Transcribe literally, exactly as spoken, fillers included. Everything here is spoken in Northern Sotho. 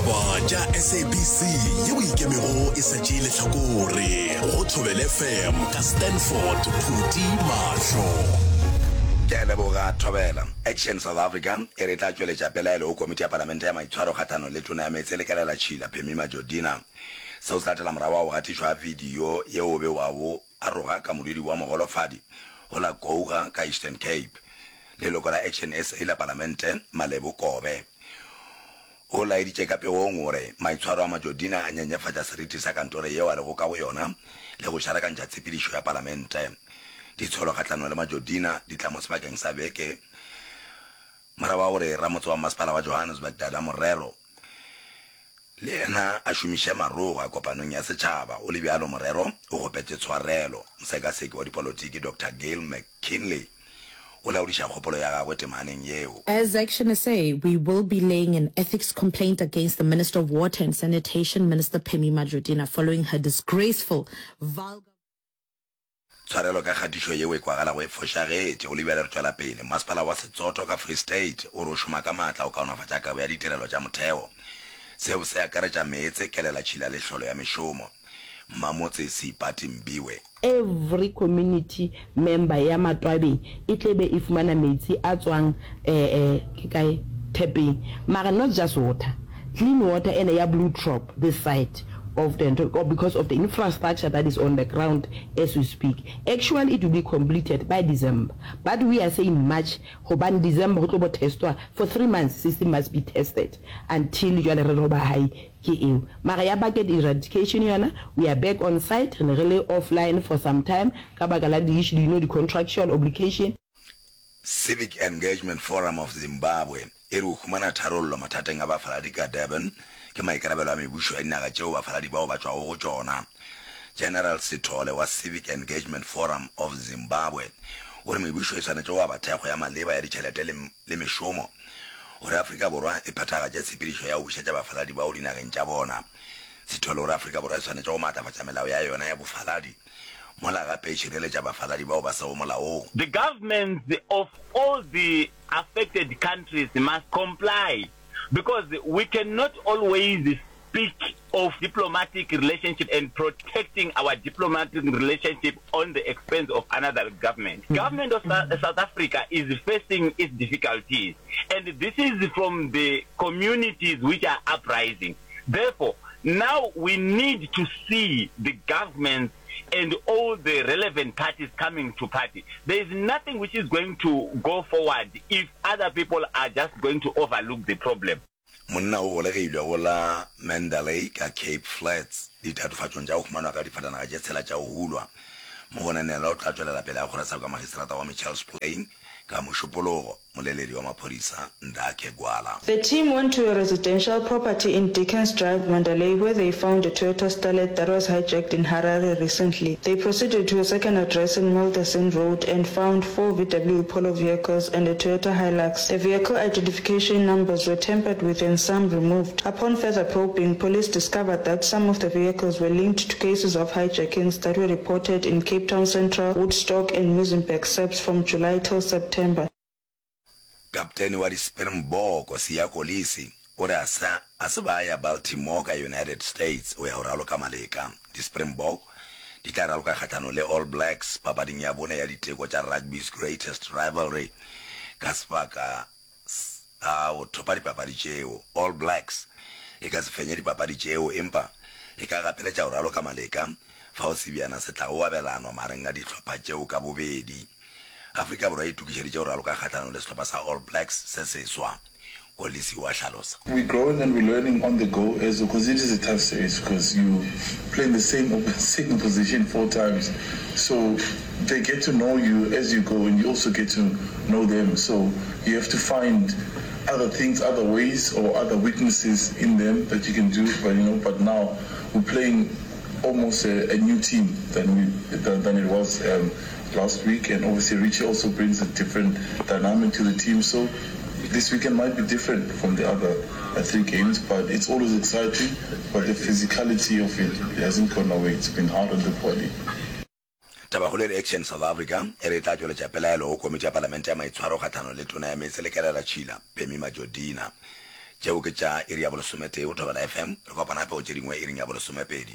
Ditaba tša S A B C yeo ikemego e sa tšee lehlakore go Thobela F M ka Stanford Phuti Mahlo. Ke a leboga, Thobela. Action South Africa e re e tla tšweletša pelaelo go Komiti ya Palamente ya Maitshwaro kgahlanong le Tona ya Meetse le Kelelatšhila, Phemie Majodina. Seo se latela morago ga go gatišwa ga video yeo o bewago a roga ka modudi wa mogolofadi go la Kouga ka Eastern Cape. Leloko la Action S A la Palamente, Malebo Kobe, o laeditše ka pegong gore maitshwaro a Majodina a nyenyefatša seriti sa kantoro yeo a lego ka go yona le go šarakantšha tshepedišo ya Palamente. Ditsholo kgahlanong le Majodina di tla mo sebakeng sa beke morago ga gore ramotse wa masepala wa Johannesburg Dada Morero le yena a šomiše maroga kopanong ya setšhaba. Go le bjalo, Morero o kgopetše tshwarelo. Mosekaseki wa dipolotiki Doctor Gail McKinley o laodiša kgopolo ya gagwe temaneng yeo. As Action S A, we will be laying an ethics complaint against the Minister of Water and Sanitation, Minister Pemmy Majodina, following her disgraceful, vulgar. Tshwarelo ka kgatišo yeo e kwagalago e fošagetše. Go le bjale re tšwela pele. Masepala wa Setsoto ka Free State o re o šoma ka maatla go kaonafatša kabo ya ditirelo tša motheo. Seo se akaretša meetse, kelelatšhila le hlolo ya mešomo. Mmamotse Seipati Mbiwe. Every community member ya Matwabeng e tle be e fumana metsi a tswang eh ke kae tap-eng, mara not just water, clean water ene ya Blue Trop this side of the ntho because of the infrastructure that is on the ground as we speak. Actually it will be completed by December, but we are saying March hobane December ho tlo bo testwa for three months, system must be tested until jwale re re ba hai ke eo. Mara ya bucket eradication yona, we are back on site, re ne re le offline for some time ka baka la di-issue, you know, di-contractual obligation. Civic Engagement Forum of Zimbabwe e re go humana tharollo mathateng a bafaladi ka Durban ke maikarabelo a mebušo ya dinaga tšeo bafaladi bao ba tšwago go tšona. General Sithole wa Civic Engagement Forum of Zimbabwe o re mebušo e swanetše go aba thekgo ya maleba ya ditšhelete le le mešomo gore Afrika Borwa e phethagatše tshepedišo ya go bušetša bafaladi bao dinageng tša bona. Sithole o re Afrika Borwa e swanetše go maatlafatša melao ya yona ya bofaladi mola gape e šireletša bafaladi bao ba sego molaong. The governments of all the affected countries must comply because we cannot always speak of diplomatic relationship and protecting our diplomatic relationship on the expense of another government. Government of South Africa is facing its difficulties and this is from the communities which are uprising. Therefore, now we need to see the governments and all the relevant parties coming to party. There is nothing which is going to go forward if other people are just going to overlook the problem. Monna o golegilwe go la Mandalay ka Cape Flats ditatofatšong tša go humanwa ka difatanaga tše tshela tša go hulwa. Mogononelwa o tla tšwelela pele ga kgorotsheko ya magistrata wa Mitchells Plain ka Mošupologo, moleledi wa maphodisa Ndakhe Gwala. The team went to a residential property in Dickens Drive, Mandalay, where they found a Toyota Starlet that was hijacked in Harare recently. They proceeded to a second address in Milderson Road and found four V W Polo vehicles and a Toyota Hilux. The vehicle identification numbers were tampered with and some removed. Upon further probing, police discovered that some of the vehicles were linked to cases of hijackings that were reported in Cape Town Central, Woodstock and Muizenberg S A P S from July till September. Kaptene wa di-Springbok, Siya Kolisi, o re a se a se ba ya Baltimore ka United States go ya go raloka maleka. Di-Springbok di tla raloka kgahlanong le All Blacks papading ya bone ya diteko tša Rugby's Greatest Rivalry ka sebaka sa go thopa dipapadi tšeo. All Blacks e ka se fenye dipapadi tšeo empa e ka gapeletša go raloka maleka fao sebjana se tlago abelanwa magareng a dihlopha tšeo ka bobedi. Afrika Borwa e itokišeditše go raloka kgahlanong le sehlopha sa All Blacks se seswa, Kolisi o a hlalosa. We're growing and we're learning on the go as because it is a tough series because you play in the same same position four times, so they get to know you as you go and you also get to know them, so you have to find other things, other ways or other weaknesses in them that you can do, but you know, but now we're playing almost a, a new team than we than, than it was um, last week, and obviously Richie also brings a different dynamic to the team, so this weekend might be different from the other uh, three games, but it's always exciting, but the physicality of it, it hasn't gone away. It's been hard on the body. Tabakgolo e re Action South Africa e re e tla tšweletša pelaelo go Komiti ya Palamente ya Maitshwaro kgahlanong le Tona ya Meetse le Kelelatšhila, Pemmy Majodina. Tšeo ke tša iri ya bolesometee go Thobela FM. Re kopana gape go tše dingwe iring ya bolesomepedi.